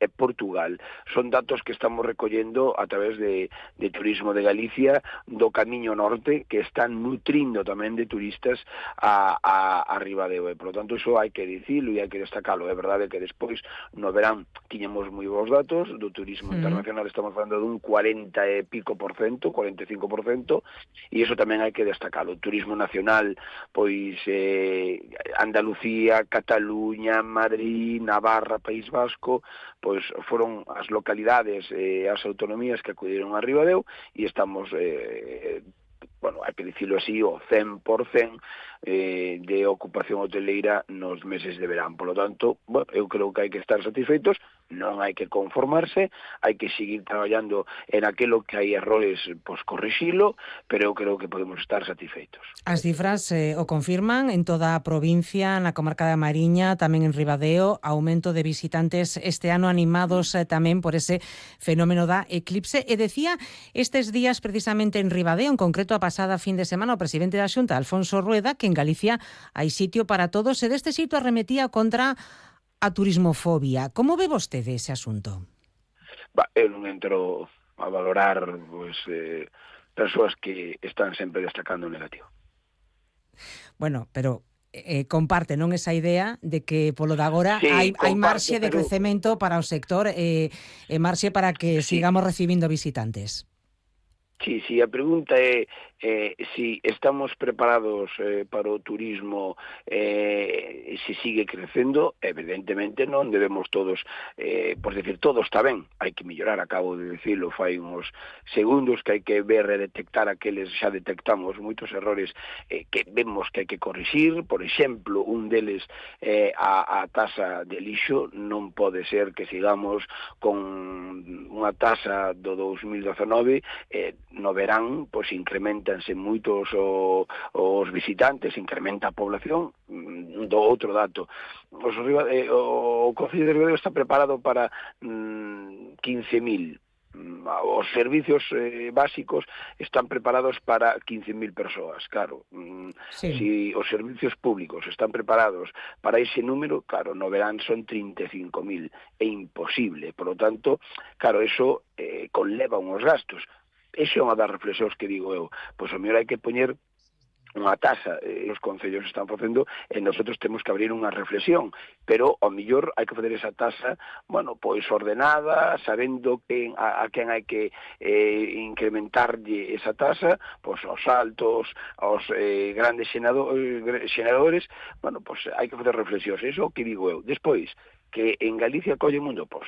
e Portugal. Son datos que estamos recollendo a través de Turismo de Galicia do Camiño Norte, que están nutrindo tamén de turistas a Ribadeo. Por lo tanto, iso hai que dicilo e hai que destacarlo. É verdade que despois, no verán, tiñamos moi bons datos do turismo internacional, estamos falando dun 40 e pico por cento, 45%, e iso tamén hai que destacarlo. O turismo nacional, pois Andalucía, Cataluña, Madrid, Navarra, País Vasco, pois foron as localidades e as autonomías que acudiron a Ribadeo e estamos, bueno, hai que dicilo así, o 100% de ocupación hoteleira nos meses de verán. Por lo tanto, bueno, eu creo que hai que estar satisfeitos, non hai que conformarse, hai que seguir traballando en aquilo que hai errores, pois corrixilo, pero eu creo que podemos estar satisfeitos. As cifras o confirman en toda a provincia, na comarca da Mariña, tamén en Ribadeo, aumento de visitantes este ano animados tamén por ese fenómeno da eclipse. E decía estes días precisamente en Ribadeo, en concreto a pasada fin de semana, o presidente da Xunta, Alfonso Rueda, que en Galicia hai sitio para todos e deste sitio arremetía contra a turismofobia. Como ve vostede ese asunto? Eu non entro a valorar persoas que están sempre destacando o negativo. Bueno, pero comparte, non, esa idea de que polo de agora sí, hai marxe de crecemento para o sector e marxe para que sigamos recibindo visitantes. Sí, a pregunta é si estamos preparados para o turismo se sigue crecendo. Evidentemente non debemos todos, por decir, todo está ben, hai que mellorar, acabo de dicilo fai uns segundos, que hai que ver e detectar aqueles, xa detectamos moitos errores que vemos que hai que corrixir. Por exemplo, un deles a tasa de lixo. Non pode ser que sigamos con unha tasa do 2019, no verán, pois incrementanse moitos os visitantes, incrementa a población. Do outro dato, o Concello de Ribadeo está preparado para 15.000. Os servicios básicos están preparados para 15.000 persoas, claro. Si os servicios públicos están preparados para ese número, claro, no verán son 35.000. É imposible. Por lo tanto, claro, eso conleva uns gastos. Esa é unha das reflexións que digo eu. Pois o mellor hai que poñer unha tasa, os concellos están facendo, e nosotros temos que abrir unha reflexión, pero ao mellor hai que fazer esa tasa, bueno, pois ordenada, sabendo a quen hai que incrementarlle esa tasa, pois aos altos, aos grandes xeneradores, bueno, pois hai que fazer reflexións, iso que digo eu. Despois, que en Galicia colle o mundo, pois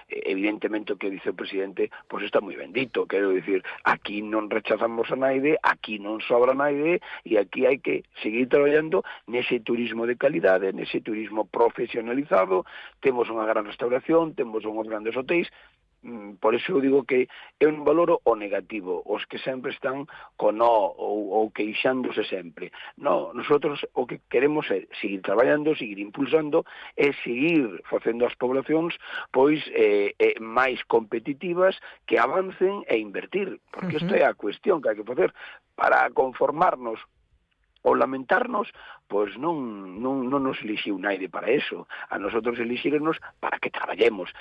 evidentemente o que dice o presidente pois está moi ben dito, quero dicir, aquí non rechazamos a naide, aquí non sobra naide, e aquí hai que seguir traballando nese turismo de calidade, nese turismo profesionalizado. Temos unha gran restauración, temos uns grandes hotéis. Por iso eu digo que eu non valoro o negativo, os que sempre están con ou queixándose sempre. No, nosotros o que queremos é seguir traballando, seguir impulsando e seguir facendo as poblacións pois máis competitivas, que avancen e invertir, porque esta é a cuestión que hai que facer. Para conformarnos ou lamentarnos, pois non nos elixiu naide para eso. A nosotros elixírenos para que traballemos,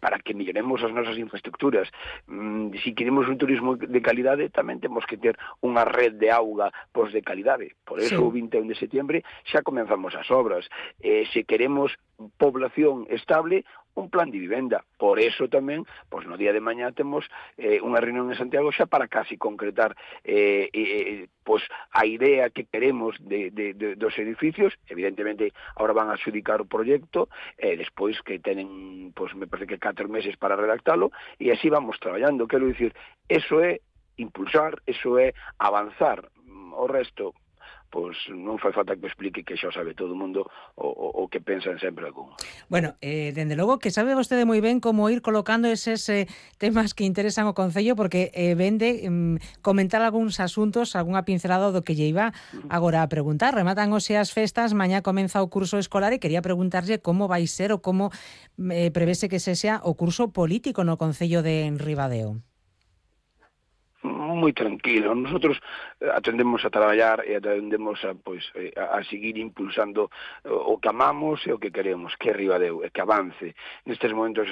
para que melloremos as nosas infraestructuras. Se queremos un turismo de calidade, tamén temos que ter unha red de auga pois de calidade. Por eso, o 21 de setembro xa comenzamos as obras. Se queremos población estable, un plan de vivenda. Por eso tamén, pois no día de mañá temos unha reunión en Santiago xa para casi concretar pois a idea que queremos dos edificios. Evidentemente, agora van a adxudicar o proxecto, despois que tenen, pois me parece que 4 meses para redactalo, e así vamos traballando. Quero dicir, eso é impulsar, eso é avanzar. O resto, pois non fai falta que me explique, que xa sabe todo o mundo o que pensan sempre algún. Bueno, dende logo que sabe vostede moi ben como ir colocando eses temas que interesan ao Concello, porque vende comentar algúns asuntos, algunha pincelada do que lle iba agora a preguntar. Rematan hoxe as festas, mañá comeza o curso escolar e quería preguntarlle como vai ser ou como prevese que sexa o curso político no Concello de Ribadeo. Moi tranquilo. Nosotros atendemos a traballar e atendemos a seguir impulsando o que amamos e o que queremos, que é Ribadeo, e que avance. Nestes momentos